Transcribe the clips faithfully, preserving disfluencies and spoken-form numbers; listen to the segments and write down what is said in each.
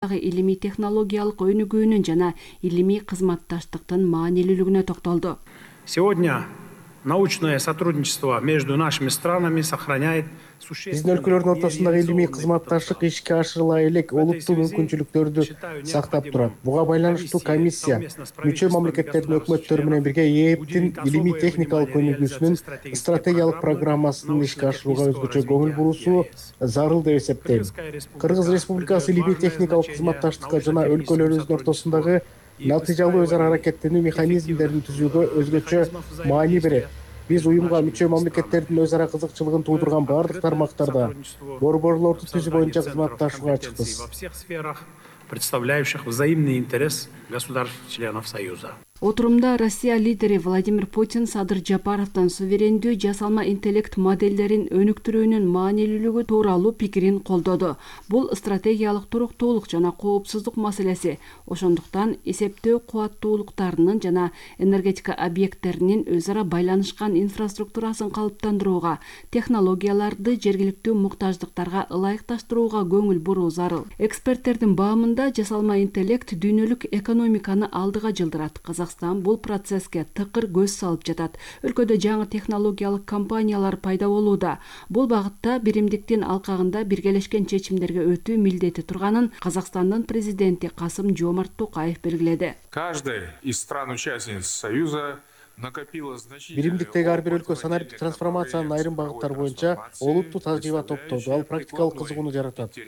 илимий технологиялык өнүгүүнүн жана илимий кызматташтыктын маанилүүлүгүнө токтолду. Сегодня научное сотрудничество между нашими странами сохраняет Биздин өлкөлөрдүн ортосундагы илимий кызматташтык ишке ашырыла элек олуттуу мүмкүнчүлүктөрдү сактап турат. Буга байланыштуу комиссия мүчө мамлекеттердин өкмөттөрү менен бирге ээптин илимий техникалык өнүгүүсүнүн стратегиялык программасын ишке ашырууга өзгөчө көңүл буруусу зарыл деп эсептейм. Кыргыз Республикасы илимий техникалык кызматташтыкка жана өлкөлөрүбүздүн ортосундагы натыйжалуу өз ара аракеттенүү механизмдерин түзүүгө өзгөчө маани берет. Биз уюмга мүчө мамлекеттердин өз ара кызыкчылыгын туудурган бардык тармактарда борборлорду түзүү боюнча кызматташууга ачыкпыз. Представляющих взаимный интерес государств-членов Союза. Отурумда Россия лидери Владимир Путин Садыр Жапаровдон суверендүү жасалма интеллект моделдерин өнүктүрүүнүн маанилүүлүгү тууралуу пикирин колдоду. Бул стратегиялык туруктуулук жана коопсуздук маселеси. Ошондуктан эсептөө кубаттуулуктарынын жана энергетика объекттеринин өз ара байланышкан инфраструктурасын калыптандырууга, технологияларды жергиликтүү муктаждыктарга ылайыкташтырууга көңүл буруу зарыл. Эксперттердин баамында жасалма интеллект дүйнөлүк экономиканы алдыга жылдырат. Казакстан бул процесске тыкыр көз салып жатат. Өлкөдө жаңы технологиялык компаниялар пайда болууда. Бул багытта биримдиктин алкагында биргелешкен чечимдерге өтүү милдети турганын Казакстандын президенти Касым-Жомарт Токаев белгиледи. Каждая из стран-участниц Союза Биримдиктеги ар бир өлкө санариптик трансформациянын айрым багыттары боюнча олуттуу тажрыйба топтоду. Ал практикалык кызыгууну жаратат.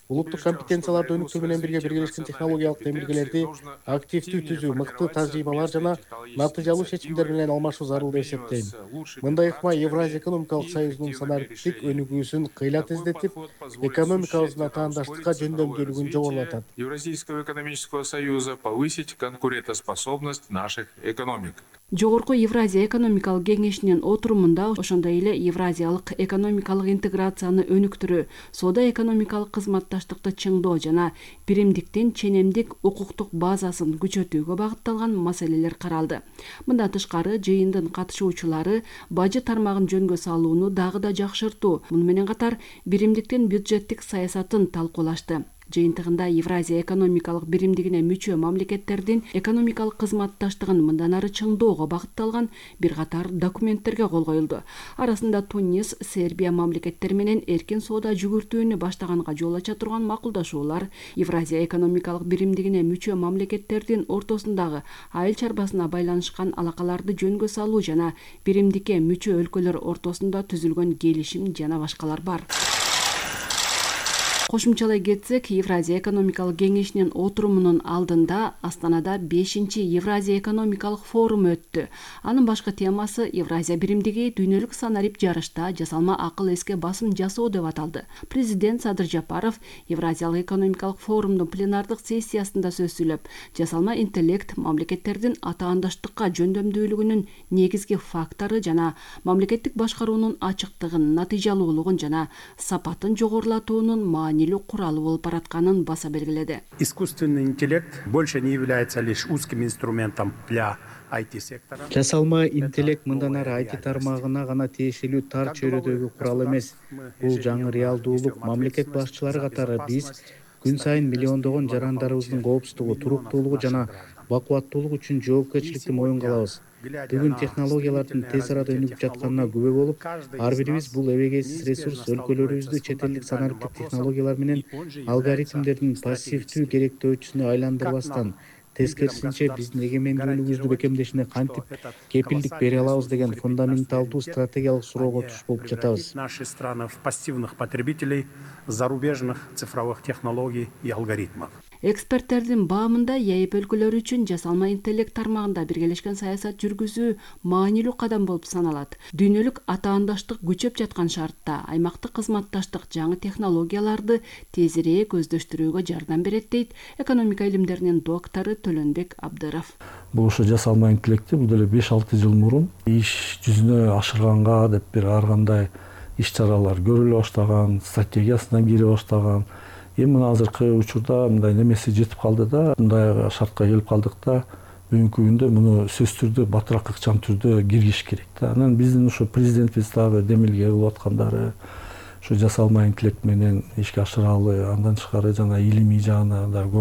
Улуттук компетенцияларды өнүктүрүү менен бирге биргелешкен технологиялык демилгелерди активдүү түзүү, мыкты тажрыйбалар жана натыйжалуу чечимдер менен алмашуу зарыл деп эсептейм. Мындай ыкма Евразия экономикалык союзунун санариптик өнүгүүсүн кыйла тездетип, экономикабыздын атаандаштыкка жөндөмдүүлүгүн жогорулатат. Евразийского экономического союза повысить конкурентоспособность наших экономик. Жогорку Евразия экономикалык кеңешинин отурумунда ошондой эле евразиялык экономикалык интеграцияны өнүктүрүү, соода экономикалык кызматташтыкты чыңдоо жана биримдиктин ченемдик укуктук базасын күчөтүүгө багытталган маселелер каралды. Мындан тышкары жыйындын катышуучулары бажы тармагын жөнгө салууну дагы да жакшыртуу, муну менен катар биримдиктин бюджеттик саясатын талкуулашты. Жыйынтыгында Евразия экономикалык биримдигине мүчө мамлекеттердин экономикалык кызматташтыгын мындан ары чыңдоого багытталган бир катар документтерге кол коюлду. Арасында Тунис, Сербия мамлекеттери менен эркин соода жүгүртүүнү баштаганга жол ача турган макулдашуулар, Евразия экономикалык биримдигине мүчө мамлекеттердин ортосундагы айыл чарбасына байланышкан алакаларды жөнгө салуу жана биримдикке мүчө өлкөлөр ортосунда түзүлгөн келишим жана башкалар бар. Кошумчалай кетсек, Евразия экономикалык кеңешинин отурумунун алдында Астанада бешинчи Евразия экономикалык форуму өттү. Анын башкы темасы Евразия биримдиги дүйнөлүк санарип жарышта жасалма акыл эске басым жасоо деп аталды. Президент Садыр Жапаров Евразиялык экономикалык форумдун пленардык сессиясында сөз сүйлөп, жасалма интеллект мамлекеттердин атаандаштыкка жөндөмдүүлүгүнүн негизги фактору жана мамлекеттик башкаруунун ачыктыгын, натыйжалуулугун жана сапатын жогорулатуунун маани куралы болуп баратканын баса белгиледи. Искусственный интеллект больше не является лишь узким инструментом для ай ти-сектора. Жасалма интеллект мындан ары ай ти тармагына гана тиешелүү тар чөйрөдөгү курал эмес. Бул жаңы реалдуулук. Мамлекет башчылары катары биз күн сайын миллиондогон жарандарыбыздын коопсуздугу, туруктуулугу жана бакубаттуулугу үчүн жоопкерчиликти моюнга алабыз. Бүгүн технологиялардын тез арада өнүгүп жатканына күбө болуп, ар бирибиз бул эбегейсиз ресурс өлкөлөрүбүздү чет элдик санариптик технологиялар менен алгоритмдердин пассивдүү керектөөчүсүнө айландырбастан, тескерисинче биздин эгемендүүлүгүбүздү бекемдешине кантип кепилдик бере алабыз деген фундаменталдуу стратегиялык суроого туш болуп жатабыз. Наши страны в пассивных потребителей зарубежных цифровых технологий и алгоритмов. Эксперттердин баамында ЕЭП өлкөлөрү үчүн жасалма интеллект тармагында биргелешкен саясат жүргүзүү маанилүү кадам болуп саналат. Дүйнөлүк атаандаштык күчөп жаткан шартта аймактык кызматташтык жаңы технологияларды тезирээк көздөштүрүүгө жардам берет дейт экономика илимдеринин доктору Төлөнбек Абдыров. Бул ошо жасалма интеллектти бул деле беш алты жыл мурун иш жүзүнө ашырганга деп бир ар кандай иш чаралар көрүлө баштаган, стратегиясына кире баштаган. Эми мына азыркы учурда мындай немеси жетип калды да, мындай шартка келип калдык да, бүгүнкү күндө муну сөзсүз түрдө батыраак ыкчам түрдө киргизиш керек да. Анан биздин ошо президентибиз дагы демилге кылып аткандары, ушу жасалма интеллект менен ишке ашыралы. Андан тышкары жана илимий жагына да